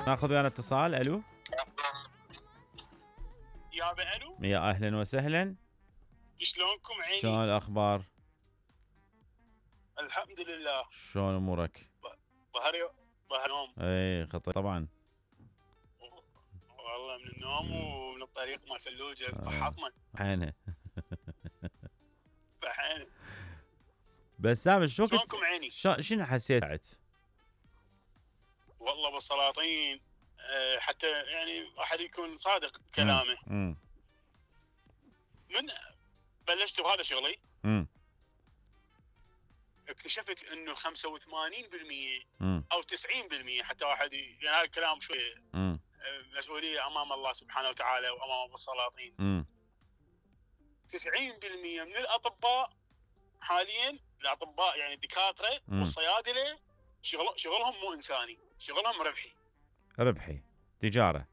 ناخذ ويانا اتصال. الو يابا الو، يا اهلا وسهلا. شلونكم عيني؟ شلون الاخبار؟ الحمد لله. شلون امورك؟ ظهر يوم اي خطير طبعا. والله من النوم ومن الطريق مال فلوجه فحطمه حينها. فحين. بسام شو كنت شلونكم عيني؟ شنو حسيت؟ والله بالسلاطين حتى يعني واحد يكون صادق كلامه. من بلشت بهذا شغلي اكتشفت انه 85% او 90% حتى واحد يعني هذا الكلام شوي مسؤوليه امام الله سبحانه وتعالى وامام السلاطين. 90% من الاطباء حاليا، الاطباء يعني الدكاتره والصيادله شغلهم مو انساني، شغلهم ربحي تجاره.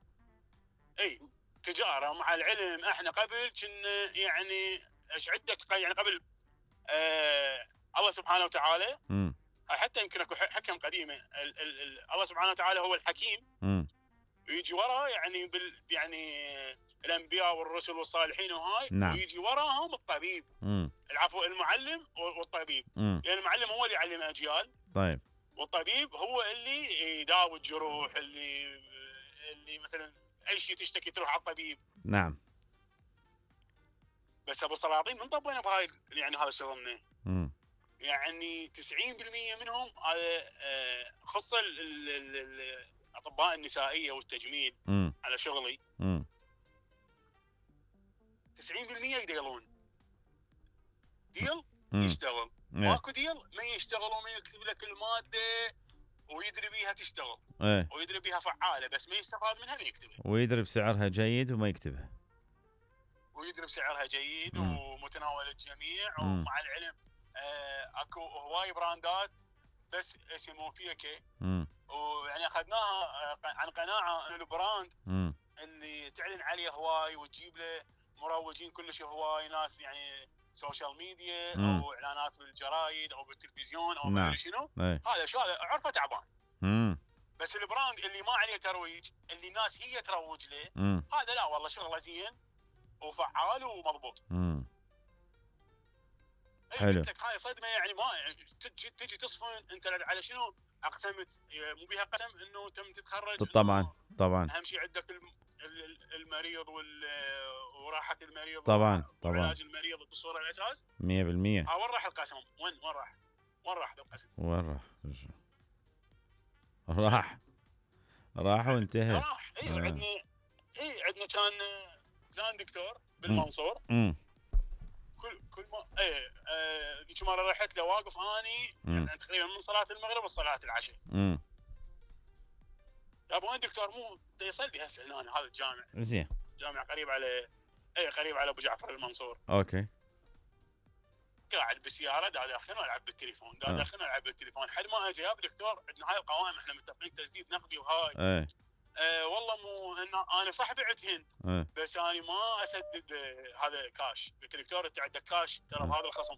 اي تجاره. مع العلم احنا قبل كنا يعني ايش عندك يعني قبل الله سبحانه وتعالى حتى يمكن اكو حكم قديمه الله سبحانه وتعالى هو الحكيم ويجي وراه يعني يعني الانبياء والرسل والصالحين وهاي. نعم. ويجي وراهم الطبيب العفو المعلم والطبيب. يعني المعلم هو اللي يعلم اجيال. طيب. والطبيب هو اللي يداوي الجروح، اللي مثلا اي شيء تشتكي تروح على الطبيب. نعم. بس ابو سلاطين من طبينا بهاي يعني هذا شغلنا. يعني 90% منهم خص الاطباء النسائيه والتجميل على شغلي. 90% يديلون ديل يشتغل. ماكو ديل ما يشتغل وما يكتب لك الماده ويدري بيها تشتغل ويدري بيها فعاله بس ما يستفاد منها ما يكتبها. ويدري بسعرها جيد وما يكتبها. ويدري بسعرها جيد ومتناول الجميع. ومع العلم اكو هواي براندات بس اسمه فيكي ويعني اخذناها عن قناعه ان البراند اللي تعلن عليه هواي وتجيب له مروجين كلش هواي ناس يعني سوشيال ميديا او اعلانات بالجرايد او بالتلفزيون او ما ادري شنو. هذا شو هذا عرفه تعبان. بس البراند اللي ما عليه ترويج اللي الناس هي تروج له هذا لا والله شغله زين وفعال ومضبوط. حلو. قلت لك هاي صدمه يعني ما تجي تصفن انت على شنو اقسمت مو بيها قسم انه تم تتخرج. طبعا اهم شيء عندك المريض وراحه المريض طبعا وعلاج المريض بالصوره الاساس 100%. وين راح القسم؟ وين راح القسم؟ راح وانتهى. راح. عندنا كان دكتور بالمنصور. كل ما ذيك مره رحت له واقف اني يعني تقريبا من صلاه المغرب وصلاه العشاء. يا ابو وين دكتور؟ مو يصلي هسه هنا هذا الجامع. زين. جامع قريب على ابو جعفر المنصور. اوكي. قاعد بالسياره داخل العب بالتليفون حد ما اجى يا دكتور عندنا هاي القوائم احنا متفقين تسديد نقدي وهاي. والله مو انا صح بعت هند بس انا ما اسدد هذا كاش. قلت دكتور انت عندك كاش ترى بهذا الخصم